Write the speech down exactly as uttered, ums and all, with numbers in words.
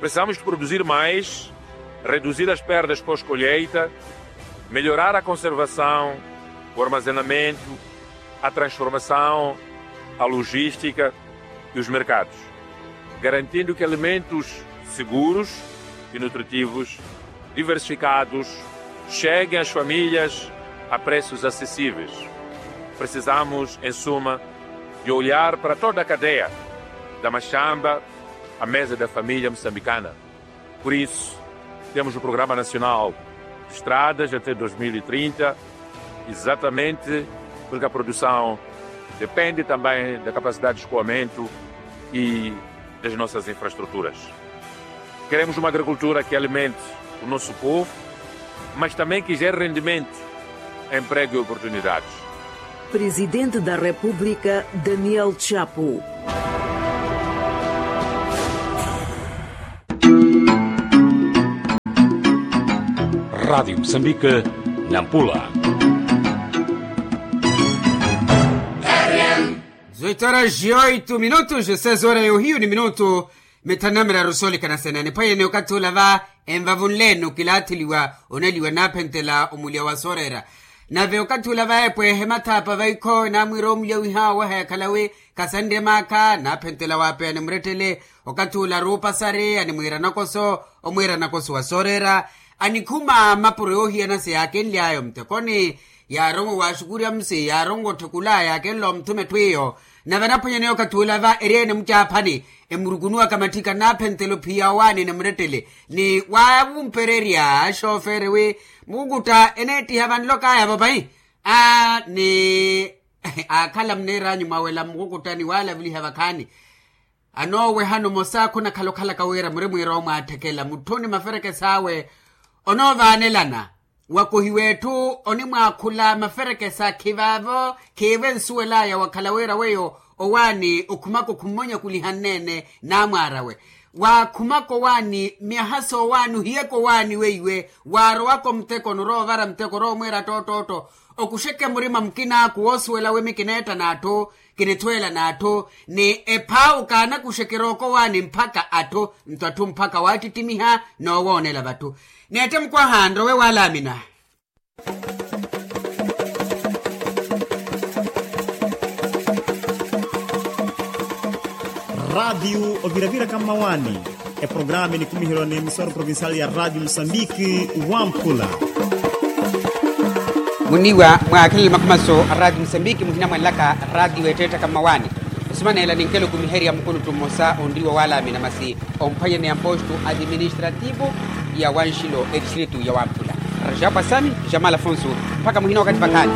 Precisamos de produzir mais, reduzir as perdas pós-colheita, melhorar a conservação, o armazenamento, a transformação, a logística e os mercados, garantindo que alimentos seguros e nutritivos diversificados cheguem às famílias a preços acessíveis. Precisamos, em suma, de olhar para toda a cadeia, da machamba à mesa da família moçambicana. Por isso, temos o Programa Nacional de Estradas até dois mil e trinta, exatamente porque a produção depende também da capacidade de escoamento e das nossas infraestruturas. Queremos uma agricultura que alimente o nosso povo, mas também que gere rendimento, emprego e oportunidades. Presidente da República, Daniel Chapo. Rádio Moçambique, Nampula. Dezoito horas e oito minutos, seis horas e ohiyu ni minutu mithanu na miraru soolikana sena. Niphwanyeni okathi ula va envavunle-ene okilaatheliwa oneliwa naaphentela omulya wa sooreera. Nave okathi ula va epwehe mathaapa vaikho naamwiira omulya wiha oweha yakhalawe khasanrye maakha naaphentela waapeya ni murettele. Okathi ula ruupasari animwiira nakoso omwiira nakoso wa sooreera. Anikhuma mapuro yoohiyana siyaakenly'aya omuttekoni. Yaaronwa waaxukurya muse yaaronwa otthekula yaakenla omuthuma etthu iyo. Nave anaphwanyani okathi ula va eri-ene mucaaphani emurukunuwaka matthika naaphentela ophiya owaani ni murettele ni waavumpererya axoofere wi mukukutta eneettiha vanlok'aya vapayi. Aa ni aakhala muneer'anyu mwawela mukukutta ni waalavuliha vakhaani. Anoowehano mosa khunakhala okhalaka wira muri mwiira omwaatthekela mutthu ni maferekes'awe. Onoovaanelana wakohiwa etthu onimwaakhula maferekesa khivaavo khiivo ensuwel'aya wakhala wira weyo owaani okhumaka okhummonyakuliha nneene naamwaar'awe. Waakhumaka owaani myaha soowaani ohiyaka owaani weiwe waarowaka omuteko oroovara muteko oroomwiira ttoottootto. Okuxeke murima mukin'aku woosuwela wi mikineetta n'atthu kinithweela n'atthu ni ephaawu kaanakuxekera okowaani mphaka atthu nto atthu mphaka waattittimiha noowoonela vatthu. Neette mukwaha nrowe waalaamina. Raatiyu oviraviraka mmawaani. Eprograma enikumiherwa n'emisoro provincial ya raatiyu musambiki wamphula. Muniiwa mwaakhelele makhumaso a raatiyu musambiki muhinamwanlaka raatiyu weetteetthaka mmawaani. Osimaneela ninkela okumiherya mukuluttu mmosa onriwa waalaamina masi omphwanyani ampostu administrativu ya wanxilo etistritu ya wamphula. Rajapwasani jamala afonso. Mpakha muhina wakathi vakhaani.